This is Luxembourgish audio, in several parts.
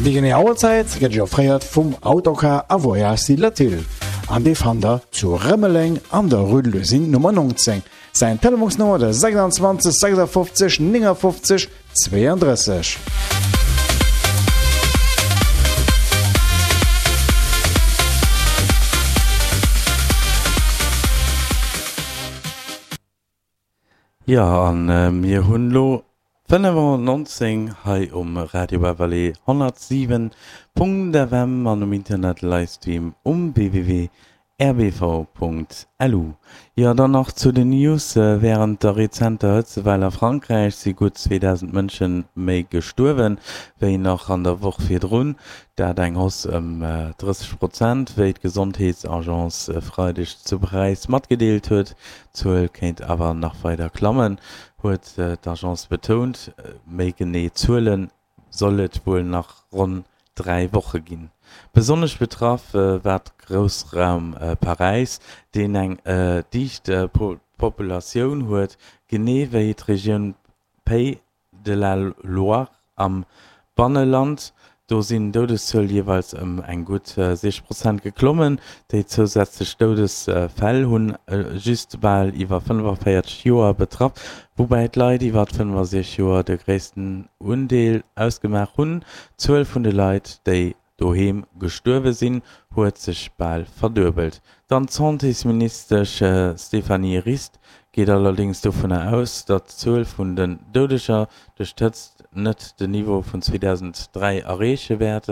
Déi genee Auerzäit gëtt Iech offréiert vum Autocar a Voyage Latil an dee fannt der zu Rëmeleng an der Rue de l'Usine Nummer 19. Säin Telefonsnummer de 26 56 59 32. Jo, a mir hunn elo 5.19 hei um Radio Beverly 107.fm an um Internet Livestream um www. Rbv.lu, Jo, dann nach zu den News, Wärend der rezenter Hëtzewell a Frankräich si gutt 2.000 Mënsche méi gestuerwen, wéi nach an der Woch virdrun. Dat eng Hausse ëm 30 Prozent, wéi d'Gesondheetsagence e Freideg zu Paräis matgedeelt huet. D'Zuel kéint awer nach weider klammen, huet d'Agence betount. Méi genee Zuele soll et wuel nach ronn 3 Woche ginn. Besonnesch betraff war d'Groussraum Paräis, deen eng dicht Populatioun huet, genee wéi d'Regioun Pays de la Loire am Banneland. Do sinn d'Doudeszuel jeeweils ëm eng gutt 6 Prozent geklommen. Déi zousätzlech Doudesfäll hunn just bal iwwer 45 Joer betraff, woubäi d'Leit iwwer 65 Joer de gréissten Undeel ausgemaach hunn. D'Zuel vun de Leit, déi doheem gestuerwe sinn, huet sech bal verduebelt. Dann d'Santésministesch Stéphanie Rist geet allerdéngs dovunner aus, datt d'Zuel vun den Doudeger duerch d'Hëtzt net den Niveau vun 2003 erreeche wäert.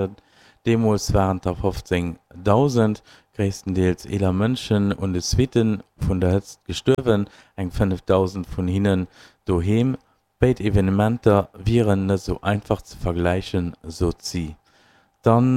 Deemools waren et der 15.000, gréisstendeels eeler Mënschen, un de Suitte vun der Hëtzt gestuerwen, eng 5.000 vun hinnen doheem. Béid Evenementer wieren net esou einfach ze vergläichen, sot si. Dann,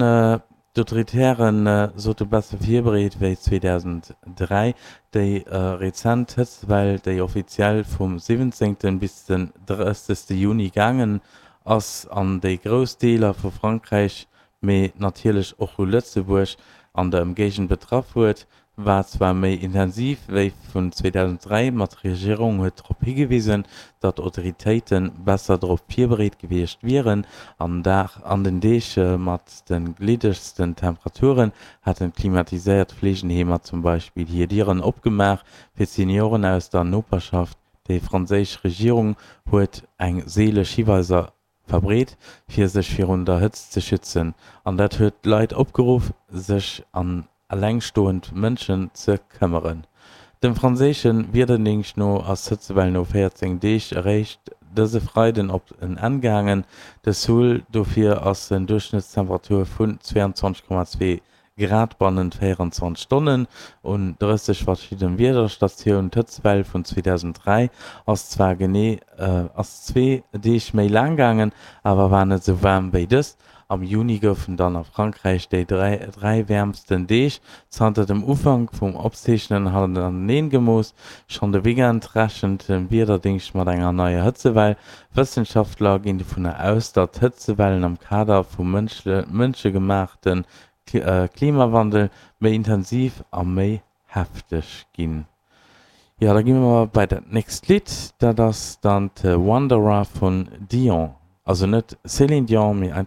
d'Autoritäre sote besser virbereet wéi 2003. Déi rezent Hëtztwell, déi offiziell vum 17. bis den 30. Juni gaangen ass an déi grouss Deeler vu Frankräich, mee natierlech och vu Lëtzebuerg an der Ëmgéigend betraff huet, war zwar méi intensiv wéi vun 2003, ma d'Regierung huet drop higewisen, datt d'Autoritéite besser drop virbereet gewiescht wieren. An an den Deeg mat de gliddegsten Temperaturen hätten d'klimatiséiert Fleegenheemer zum Beispill hir Dieren opgemaach fir d'Senioren aus der Noperschaft. Déi franséisch Regierung huet eng seeleg Hiweiser verbreet, fir sech virun der Hëtzt ze schützen, an dat huet d'Leit opgeruff, sech an elengstoend Mënschen ze këmmeren. Dem franséische Wiederdéngscht no ass d'Hëtzewell no 14 Deeg eréischt dëse Freiden op en Enn gaangen. De Seuil dofir ass en Duerchschnëttstemperatur vun 22,2 Grad bannent 24 Stonnen un 30 verschidde Wiederstatioun. D'Hëtztwell vun 2003 ass zwar genee ass zwee Deeg méi laang gaangen, awer war net esou waarm wéi dës. Am Juni goufen dann a Frankräich déi 3 wäermsten Deeg zanter dem Ufank vum Opzeechnen hannerteneen gemooss. Schonn de Weekend rechent de Wiederdéngscht mat enger neier Hëtzewell. Wëssenschaftler ginn dovunner aus, datt Hëtzewellen am Kader vum mënschegemaachte Klimawandel méi intensiv a méi hefteg ginn. Jo, da gi mer bei dat nächst Lidd, dat ass dann The Wanderer vun Dion. Also net Céline Dion, mee einfach.